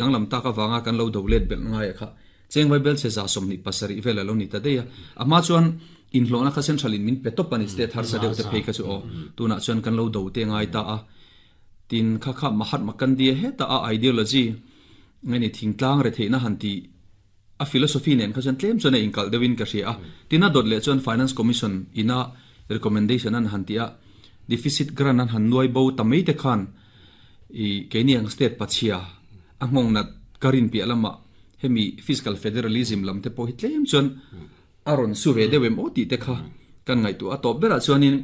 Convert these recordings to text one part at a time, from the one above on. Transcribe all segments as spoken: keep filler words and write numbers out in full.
Danglam tak awanga kan lo do let bel ngai kha chengwai bel che za somni pasari vel alo ni ta deia ama chuan in hlona kha central in min petop ani state har sa deuh te phei kha chu o tuna chuan kan lo do te ngai ta a tin kha kha Mahatma Gandhi he ta a ideology ngani thingtlang re theina han ti a philosophy nen kha chuan tlem chuan a inkal deuhin ka hria a tina dot le chuan Finance Commission ina recommendation an han ti a deficit grant an han nuai bo tamei te khan i keini ang state pachia a ngong na karin pi alama hemi fiscal federalism lam te pawh hi tlem chuan aron su ve deuh em aw ti te kha kan ngai tu a top bera chuanin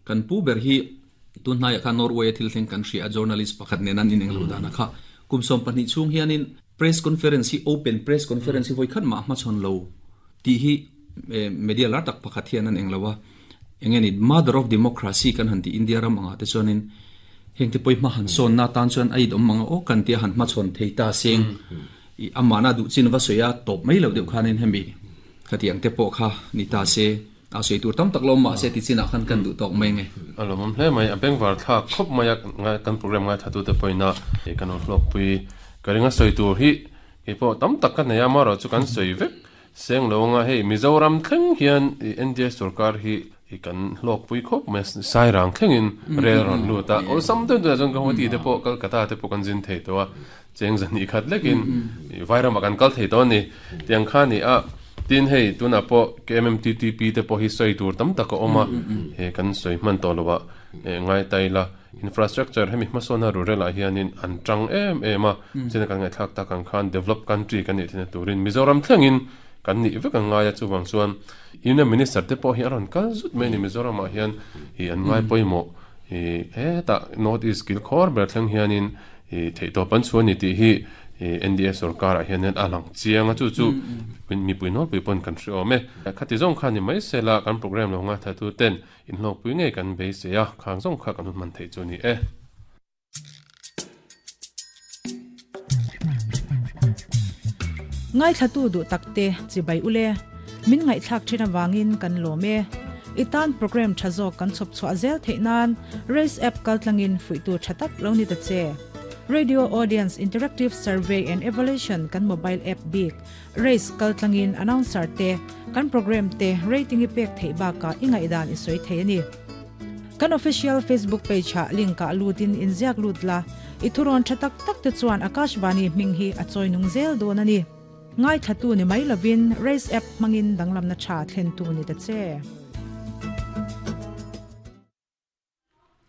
kan pu ber hi tun hnaiah kha Norway thil thleng kan hria journalist pakhat nen an ineng lo dana kha kumsom pahnih chung hianin press conference hi open press conference hi voi khat ma ma chon lo ti hi media lar tak pakhat hian an englowa engeni mother of democracy kan han ti India ram anga te chuanin heng te poi ma han son na tan chuan ai dom manga o kan tia han ma chon thei ta seng i amana du chin va soya top mai lo deuh khanin hemi khatiang te pawh kha ni ta se a sei tur tam tak lo ma se ti chin a khan kan du tok mai nge alo mam hle mai a bengvar tha khop mai kan program ngai thatu te poina e kan hlok pui karinga soi tur hi ke po tam tak kan neya ma ro chu kan soi vek seng lo nga hei Mizoram thleng hian N D A sarkar hi i kan hlok pui khop mai sai rang thlengin rel ron lu ta ol sam den tu jong ka hoti te po Kolkata te po kan jin thei to a cheng zan i khat lekin vairam kan kal thei to ni tiang kha ni a tin hei tuna po K M M T T P te po hi soi tur tam tak oma he kan soi man to lowa ngai tai la infrastructure hemi hmasona rural a hianin an tang em em a chen kan ngai thak ta kan khan develop country kan ni thina turin Mizoram thlengin kan ni vek ang ngaia chuwang chuan Union Minister te pawh hi aron kal zut mai ni Mizoram ah hian hi an ngai pawimawh hi heta North East kil khawr ber thleng hianin hi theih pan chuan ni tih hi N D A sarkar ah hianin a lang chiang a chu chu mipui nawr pui pawn kan hre awm e khati zawng khan ni mai sela kan program lo nga thatu ten in hlawk pui ngei kan beisei a khang zawng kha kan hun man thei chu ni e. Ngai thatu du takte chibai ule min ngai thak thina wangin kan lome itan program thazo kan chop chwa zel theinan race app kaltlangin fuitu thatak lo ni ta che Radio Audience Interactive Survey and Evaluation kan mobile app big race kaltlangin announcer te kan program te rating ipek theiba ka ingai dan isoi theini kan official Facebook page ha link ka lutin inziak lutla ithuron thatak tak te chuan Akashvani minghi achoi nung zel don ani ngai thatu ni mai lovin race app mangin danglam na tha thlen tu ni ta che.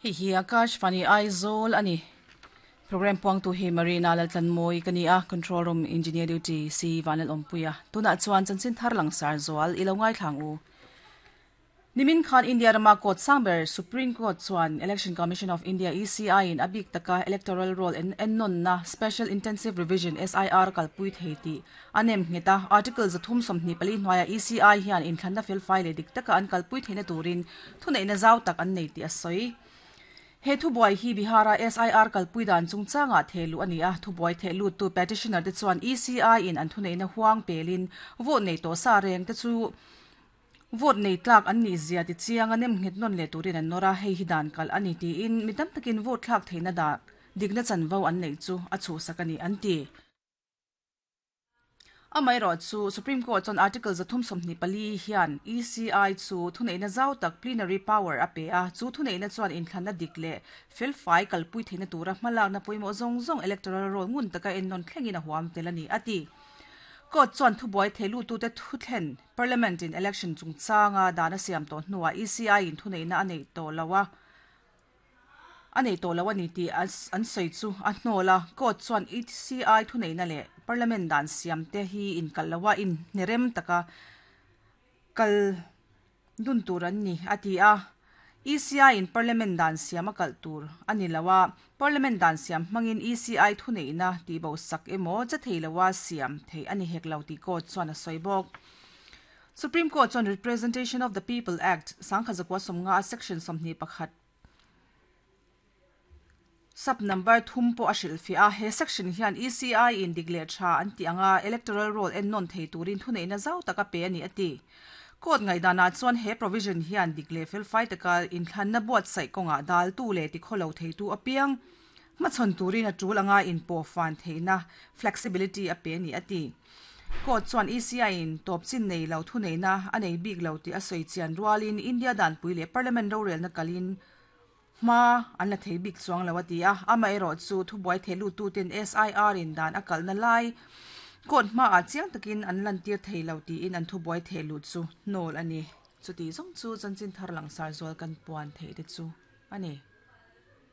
Hi hi Akashvani Aizawl ani program puang tu hi Marina Laltlan moi kani a control room engineer duty si Vanal Ompuya tuna chuan chanchin thar lang sar zawal ilo ngai thlang u Nimin Khan India rama court sangber Supreme Court chuan Election Commission of India E C I in abik taka electoral roll en ennon na Special Intensive Revision S I R kalpui theiti anem ngeta article zathum somni pali hnuaia E C I hian in thlanna fel file dik taka an kalpui theina turin thunei na zau tak an nei ti asoi he thu boy hi Bihara S I R kalpui dan chungchanga thelu ani a thu boy thelu tu petitioner te chuan E C I in an thunei na huang pelin vote nei to sa reng te chu vote nei tlak an ni zia ti chiang anem nghet non le turin an nora hei hi dan kal ani ti in mitam takin vote thlak theina da digna chanvo an nei chu a chu sakani an ti amai ro chu Supreme Court chon article zathum somni pali hian E C I chu thunei na zau tak plenary power a pe a chu thunei na chuan in thlanna dikle fel fai kalpui theina tura hmalak na poimo zong zong electoral roll ngun taka en non thlengin a huam telani ati Court chuan thubuai thelu tu te thuthlen parliament in election chungchanga dana siam to hnuwa E C I in thunei na anei to lawa anei to lawa ni ti an sei chu a hnola court chuan E C I thunei na le parliament dan siam te hi in kalawa in nerem taka kal dun turan ni ati a E C I in parliament dan siam a kal tur ani lawa parliament dan siam mangin E C I thunei na ti bo sak emo cha theilawa siam thei ani hek lo ti court chuan a soibok Supreme Court chuan Representation of the People Act sangkhazakwa somnga section somni pakhat sub number thum po ashil fi a he section hian E C I in digle tha an ti anga electoral roll en non thei turin thunei na zau taka pe ani ati court ngai dana chuan he provision hian digle fel fai taka in thlan na buat sai konga dal tu le ti kholo thei tu apiang Ma chon turin a tul anga in po fan theina flexibility a pe ni ati ko chuan E C I in top chin nei lo thu nei na anei big lo ti a soi chian rualin India dan pui le parliament ro rel na kalin ma an la thei bik chuang lo ati a ama ero chu thu buai thelu tu ten S I R in dan akal na lai kot ma a chiang takin an lan tir thei lo ti in an thu buai thelu chu nol ani chuti zong chu chanchin thar lang sar zol kan puan thei te chu ani.